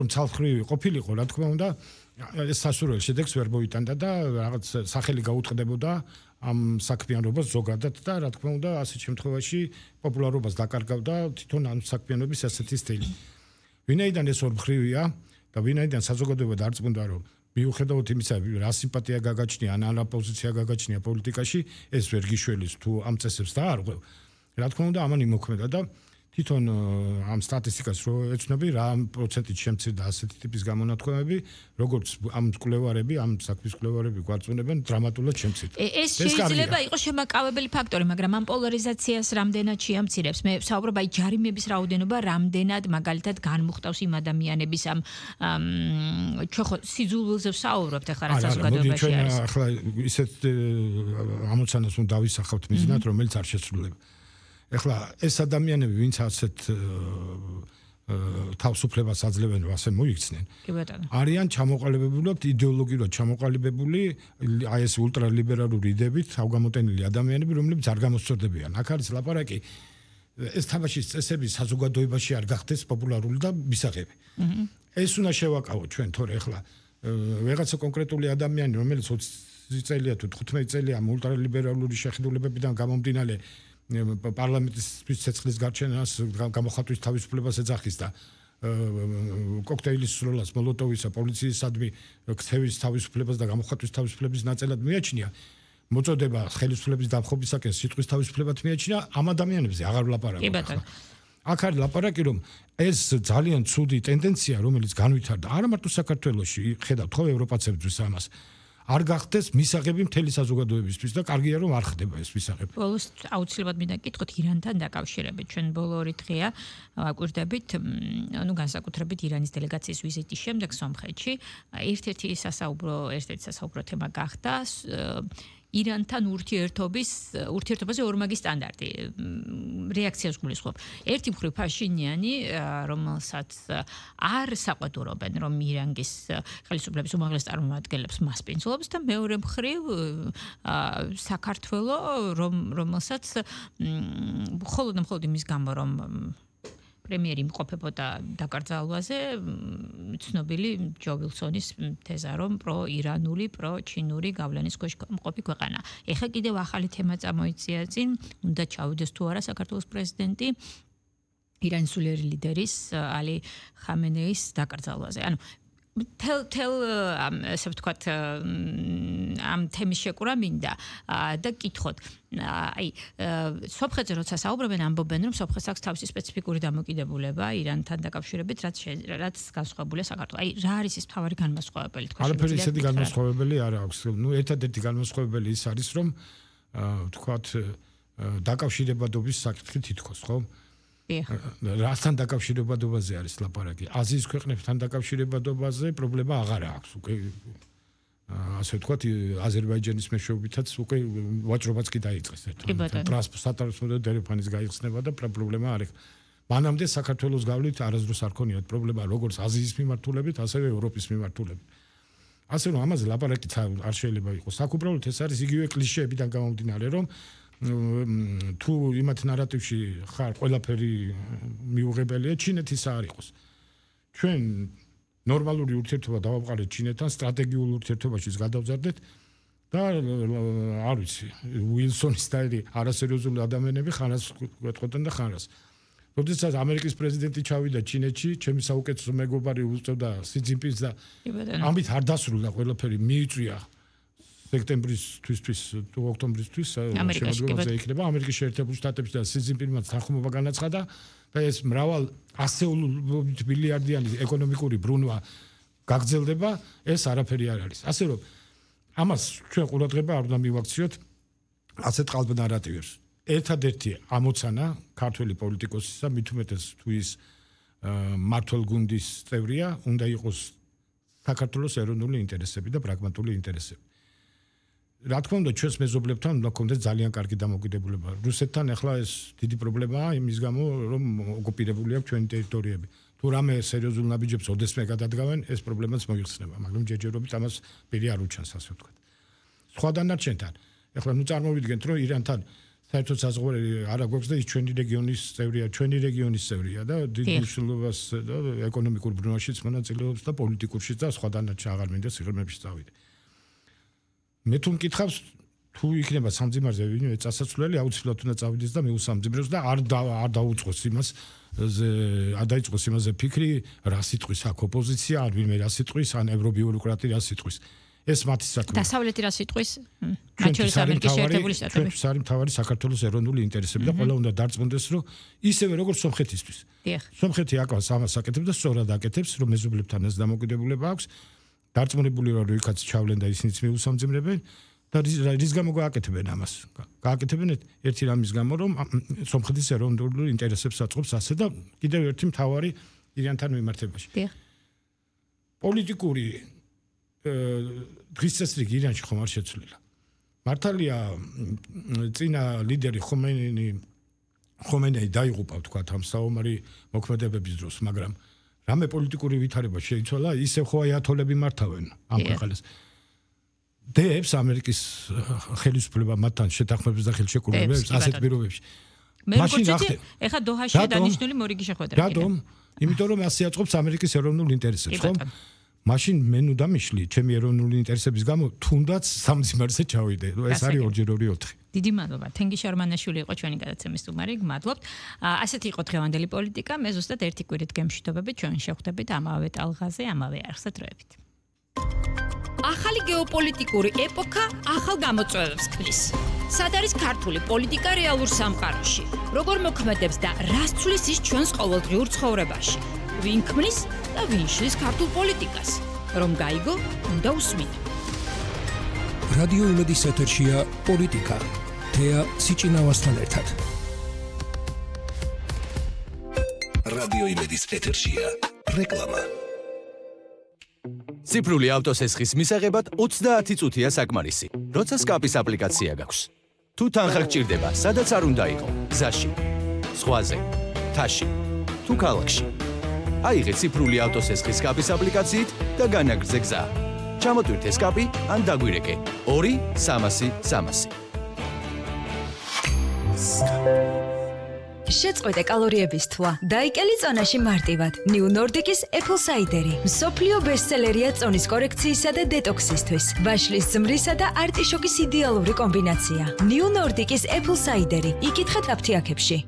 ცალხრივი ყოფილიყო, რა თქმა უნდა, ეს სასურველ შედეგს ვერ მოიტანდა და რაღაც სახელი გაუწყდებოდა ამ საქმიანობას ზოგადად და რა თქმა უნდა, ასეთ შემთხვევაში პოპულარობას დაკარგავდა თვითონ ამ საქმიანობის ასეთი სტილი. ვინაიდან ეს ორმხრივია და ვინაიდან საზოგადოება დარწმუნდა, რომ მიუხედავად იმისა, რა სიმპათია გაგაჩნია, ან რა პოზიცია გაგაჩნია პოლიტიკაში, ეს ვერ გიშველის თუ ამ წესებს დაარღვევ. რა თქმა უნდა, ამან იმოქმედა და თვითონ ამ სტატისტიკას რო ეცნობი, რა პროცენტით შემცირდა ასეთი ტიპის გამონათქვამები, როგორც ამ კვლევარები, ამ საქმის კვლევარები გვარწმუნებენ, დრამატულად შემცირდა. ეს შეიძლება იყოს შემაკავებელი ფაქტორი, მაგრამ ამ პოლარიზაციას რამდენად შეამცირებს? მე ვსაუბრობ აი ჯარიმების რაოდენობა რამდენად მაგალითად განმუხტავს იმ ადამიანების ამ ჩვენ ხო სიძულვილზე ვსაუბრობთ ახლა რა საზოგადოებაში არის. ახლა ისეთ ამოცანას უნდა დავისახავთ მიზნად, რომელიც არ შესრულება. ეხლა ეს ადამიანები, ვინც ასეთ თავისუფლებას აძლევენ, ასე მოიქცნენ. არიან ჩამოყალიბებულად, იდეოლოგიურად ჩამოყალიბებული, აი ეს ულტრალიბერალური იდეებით თავგამოტენილი ადამიანები, რომლებიც არ გამოსწორდებიან. აქ არის ლაპარაკი, ეს თამაშის წესები საზოგადოებაში არ გახდეს პოპულარული და მისაღები. ეს უნდა შევაკავოთ ჩვენ, თორე ეხლა ვიღაცა კონკრეტული ადამიანი, რომელიც 20 წელია თუ 15 წელია ამ ულტრალიბერალური შეხედულებებიდან გამომდინარე პარლამენტის ცეცხლის გარჩენას გამოხატვის თავისუფლებას ეძახის და კოქტეილის სროლას, მოლოტოვისა, პოლიციისადმი ქცევის თავისუფლებას და გამოხატვის თავისუფლების ნაწილად მიაჩნია. მოწოდება ხელისუფლების დამხობისაკენ სიტყვის თავისუფლებად მიაჩნია, ამ ადამიანებზე აღარ ვლაპარაკობ. აქ არის ლაპარაკი, რომ ეს ძალიან ცუდი ტენდენცია, რომელიც განვითარდა არა მარტო საქართველოში, ხედავთ ხო ევროპაცებისთვის ამას. არ გახდეს მისაღები მთელი საზოგადოებისთვის და კარგია რომ არ ხდება ეს მისაღები. ბოლოს აუცილებლად მინდა გითხოთ ირანთან დაკავშირებით. ჩვენ ბოლო 2 დღეა ვაკვირდებით, ანუ განსაკუთრებით ირანის დელეგაციის ვიზიტის შემდეგ სომხეთში. ერთ-ერთი სასაუბრო თემა გახდა ირანთან ურთიერთობაზე ორმაგი სტანდარტი. რეაქციას გულისხმობ. ერთი მხრივ ფაშინიანი, რომელსაც არ საყვედურობენ, რომ ირანის ხელისუფლების უმაღლეს წარმომადგენლებს მასპინძლობს და მეორე მხრივ საქართველო, რომელსაც მხოლოდ იმის გამო, რომ პრემიერი იმყოფებოდა დაკრძალვაზე, ცნობილი ჯო ვილსონის თეზა, რომ პრო-ირანული, პრო-ჩინური გავლენის ქვეშ მყოფი ქვეყანა. ეხლა კიდევ ახალი თემა წამოიწია წინ, უნდა ჩავიდეს თუ არა საქართველოს პრეზიდენტი ირანის სულიერი ლიდერის ალი ხამენეის დაკრძალვაზე. ანუ თელ ასე ვთქვათ ამ თემის შეკურა მინდა და გითხოთ აი სომხეთზე როცა საუბრობენ ამბობენ რომ სომხეთს აქვს თავისი სპეციფიკური დამოკიდებულება ირანთან დაკავშირებით რაც განსხვავებულია საქართველოს. აი რა არის ეს მთავარი განმასხვავებელი თქვენ? არაფერი ისეთი განმასხვავებელი არ აქვს. ნუ ერთადერთი განმასხვავებელი ის არის რომ ვთქვათ დაკავშირებადობის საკითხი თითქოს ხო? რასთან დაკავშირებადობაზე არის ლაპარაკი? აზიის ქვეყნებთან დაკავშირებადობაზე პრობლემა აღარ აქვს. უკვე ასე ვთქვათ, აზერბაიჯანის მეშვეობითაც უკვე ვაჭრობაც კი დაიწყეს ერთმანეთთან. ტრანსპორტატორთა დერეფანის გაიხსნება და პრობლემა არ აქვს. მანამდე საქართველოს გავლით არასდროს არ ქონიათ პრობლემა როგორც აზიის მიმართულებით, ასევე ევროპის მიმართულებით. ასე რომ ამაზე ლაპარაკიც არ შეიძლება იყოს. აქ უბრალოდ ეს არის იგივე კლიშეებიდან გამომდინარე, რომ თუ იმათ ნარატივში ხარ ყველაფერი მიუღებელია, ჩინეთის არ იყოს. ჩვენ ნორმალური ურთიერთობა დავამყარეთ ჩინეთთან, სტრატეგიულ ურთიერთობაშიც გადავზარდეთ და არ ვიცი, უილსონის და არასერიოზული ადამიანები ხანას გვეტყოდნენ და ხანას. როდესაც ამერიკის პრეზიდენტი ჩავიდა ჩინეთში, ჩემი საუკეთესო მეგობარი უწევდა სი ძინპინს და ამით არ დასრულდა ყველაფერი, მიიწვია სექტემბრისთვის თუ ოქტომბრისთვის შემოგვიყვება იქნება ამერიკის შეერთებული შტატებში და სი ძინპინმა თანხმობა განაცხადა და ეს მრავალ ასეულობით მილიარდიანი ეკონომიკური ბრუნვა გაგრძელდება, ეს არაფერი არ არის. ასე რომ ამას ჩვენ ყურადღება არ უნდა მივაქციოთ ასეთ ყალბ ნარატივებს. ერთადერთი ამოცანა ქართველი პოლიტიკოსისა, მით უმეტეს თუ ის მმართველ გუნდის წევრია, უნდა იყოს საქართველოს ეროვნული ინტერესები და პრაგმატული ინტერესები. რა თქმა უნდა, ჩვენს მეზობლებთან უნდა გქონდეს ძალიან კარგი დამოკიდებულება. რუსეთთან ახლა ეს დიდი პრობლემაა იმის გამო, რომ ოკუპირებული აქვს ჩვენი ტერიტორიები. თუ რამე სერიოზულ ნაბიჯებს ოდესმე გადადგავენ, ეს პრობლემაც მოიხსნება, მაგრამ ჯერჯერობით ამას პირი არ უჩანს, ასე ვთქვათ. სხვა დანარჩენთან, ახლა ნუ წარმოვიდგენთ, რომ ირანთან საერთოდ საზღვარი არა გვაქვს და ის ჩვენი რეგიონის წევრია და დიდ მნიშვნელობას და ეკონომიკურ ბრუნვაშიც მონაწილეობს და პოლიტიკურშიც და სხვა დანარჩენ აღარ მინდა სიღრმეებში წავიდე. მე თუ მკითხავს თუ იქნება სამძიმარზე ვინმე წასაცვლელი აუცილებლად უნდა წავიდეს და მეუსამძიმრებს და არ დაუწყოს იმას არ დაიწყოს იმაზე ფიქრი რა სიტყვის აქ ოპოზიცია არ ვინმე რა სიტყვის ან ევრობიუროკრატი რა სიტყვის ეს მათი საქმეა. დასავლეთი რა სიტყვის? მათ შორის ამერიკის შეერთებული შტატები. ჩვენთვის არის მთავარი საქართველოს ეროვნული ინტერესები და ყველა უნდა დარწმუნდეს რომ ისევე როგორც სომხეთისთვის. სომხეთი აკავს ამას აკეთებს და სწორად აკეთებს რომ მეზობლებთან ეს დამოკიდებულება აქვს. დარწმუნებული რომ იქაც ჩავლენ და ისინიც მიუსამძიმრებენ და რის გამო გააკეთებენ ამას? გააკეთებენ ერთი რამის გამო რომ სომხეთის ეროვნული ინტერესებს აწყობს ასე და კიდევ ერთი მთავარი ირანთან მიმართებაში. პოლიტიკური დღის წესრიგი ირანში ხომ არ შეცვლილა. მართალია წინა ლიდერი ხომეინი დაიღუპა თქვა ამ საომარი მოქმედებების დროს, მაგრამ რამე პოლიტიკური ვითარება შეიცვალა, ისევ ხო აიათოლები მართავენ ამ ქვეყანას. დებს ამერიკის ხელისუფლება მათთან შეთანხმებებს და ხელშეკრულებებს ასეთ პირობებში. მაშინ ეხა დოჰაშია დანიშნული მორიგი შეხვედრა. რატომ? იმიტომ რომ ასე აწყობს ამერიკის ეროვნულ ინტერესებს, ხომ? მაშინ მე ნუ დამიშლი ჩემი ეროვნული ინტერესების გამო თუნდაც სამძიმარზე ჩავიდე. ეს არის 2-2-4. დიდი მადლობა. თენგიზ შარმანაშვილი იყო ჩვენი გადაცემის სტუმარი. გმადლობთ. ასეთი იყო დღევანდელი პოლიტიკა. მე ზუსტად ერთი კვირით გემშვიდობებით ჩვენ შევხვდებით ამავე ტალღაზე, ამავე არხზე დროებით. ახალი გეოპოლიტიკური ეპოქა ახალ გამოწვევებს ქმნის. სად არის ქართული პოლიტიკა რეალურ სამყაროში? როგორ მოქმედებს და რას ცვლის ის ჩვენს ყოველდღიურ ცხოვრებაში? ვინ ქმნის და ვინ შლის ქართულ პოლიტიკას? რომ გაიგო, უნდა უსმინო. რადიო იმედის ეთერშია პოლიტიკა. თეა სიჭინავასთან ერთად. რადიო იმედის ეთერშია რეკლამა. ციფრული ავტოსესხის მისაღებად 30 წუთია საკმარისი. როცა სკაპის აპლიკაცია გაქვს. თუ თანხა გჭირდება, სადაც არ უნდა იყო, გზაში, ზღვაზე, თაში, თუ ქალაქში. აიღე ციფრული ავტოსესხის სკაპის აპლიკაციით და განაგრძე გზა. ჩამოტვირთე სკაპი ან დაგვირეკე 2-300-300. შეწყვეტე კალორიების თვა. დაიკელი წონაში მარტივად. New Nordic-ის Apple Cider-ი. მსოფლიო ბესტსელერია წონის კორექციისა და დეტოქსისთვის. ვაშლის ზმრისა და არტიშოკის იდეალური კომბინაცია. New Nordic-ის Apple Cider-ი. იკითხეთ აფთიაქებში.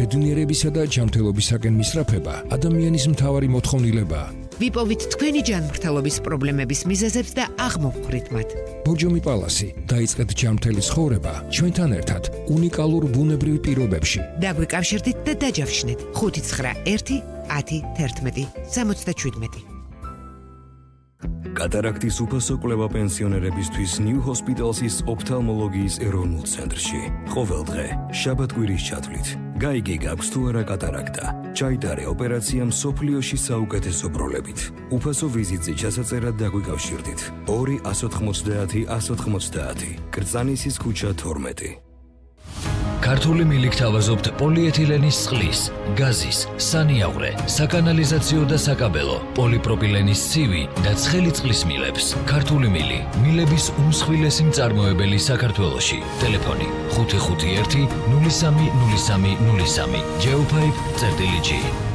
ბედნიერებისა და ჯანმრთელობისაკენ მისწრაფება ადამიანის მთავარი მოთხოვნილებაა. ვიპოვით თქვენი ჯანმრთელობის პრობლემების მიზეზებს და აღმოვხვრით მათ. ბორჯომი პალასი, დაიწყეთ ჯანმრთელი ცხოვრება ჩვენთან ერთად უნიკალურ ბუნებრივ პირობებში. დაგვიკავშირდით და დაჯავშნით 591-1011-77. კატარაქტის უფასო კვლევა პენსიონერებისთვის New Hospital's ოფთალმოლოგიის ეროვნულ ცენტრში. ყოველდღე, შაბათ-კვირის ჩათვლით. გაიგე გაქვს თუ არა კატარაქტა. ჩაიტარე ოპერაცია მსოფლიოში საუკეთესო პროლებით. უფასო ვიზიტზე ჩასაწერად დაგვიკავშირდით. 2-190-190. კრწანისის ქუჩა 12. ქართული მილი გთავაზობთ პოლიეთილენის წყლის, გაზის, სანიაღვრე, საკანალიზაციო და საკაბელო, პოლიპროპილენის ცივი და ცხელი წყლის მილებს. ქართული მილი, მილების უმსხვილესი მწარმოებელი საქართველოში. ტელეფონი 551-030303 Geopipe.gr.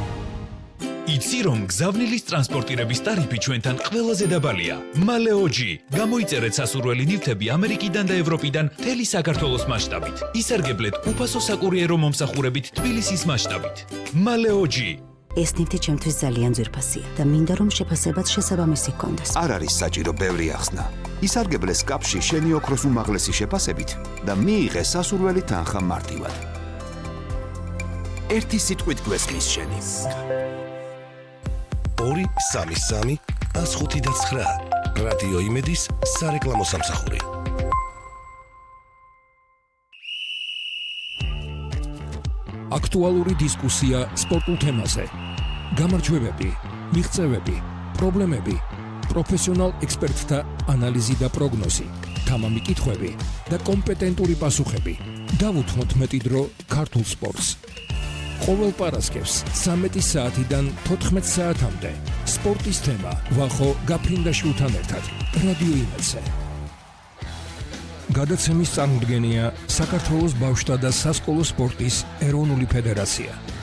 იცი რომ გზავნილის ტრანსპორტირების ტარიფი ჩვენთან ყველაზე დაბალია. მალეოჯი. გამოიწერეთ სასურველი ნივთები ამერიკიდან და ევროპიდან მთელი საქართველოს მასშტაბით. ისარგებლეთ უფასო საკურიერო მომსახურებით თბილისის მასშტაბით. მალეოჯი. ეს ნივთი ჩემთვის ძალიან ძვირფასია და მინდა რომ შეფასებაც შესაბამისი ჰქონდეს. არ არის საჭირო ბევრი ახსნა. ისარგებლე სკაპში შენი ოქროს უმაღლესი შეფასებით და მიიღე სასურველი თანხა მარტივად. ერთი სიტყვით გვესმის შენი. 2-3-3-5-9 რადიო იმედის სარეკლამო სამსახური. აქტუალური დისკუსია სპორტულ თემაზე. გამარჯვებები, მიღწევები, პრობლემები, პროფესიონალ ექსპერტთა ანალიზი და პროგნოზი, თამამი კითხვები და კომპეტენტური პასუხები. დავუთმოთ მეტი დრო ქართულ სპორტს. ყოველ პარასკევს 13 საათიდან 14 საათამდე სპორტის თემა ვახო გაფრინდაშვილთან ერთად რადიო იმედზე. გადაცემის წარმოდგენია საქართველოს ბავშვთა და სასკოლო სპორტის ეროვნული ფედერაცია.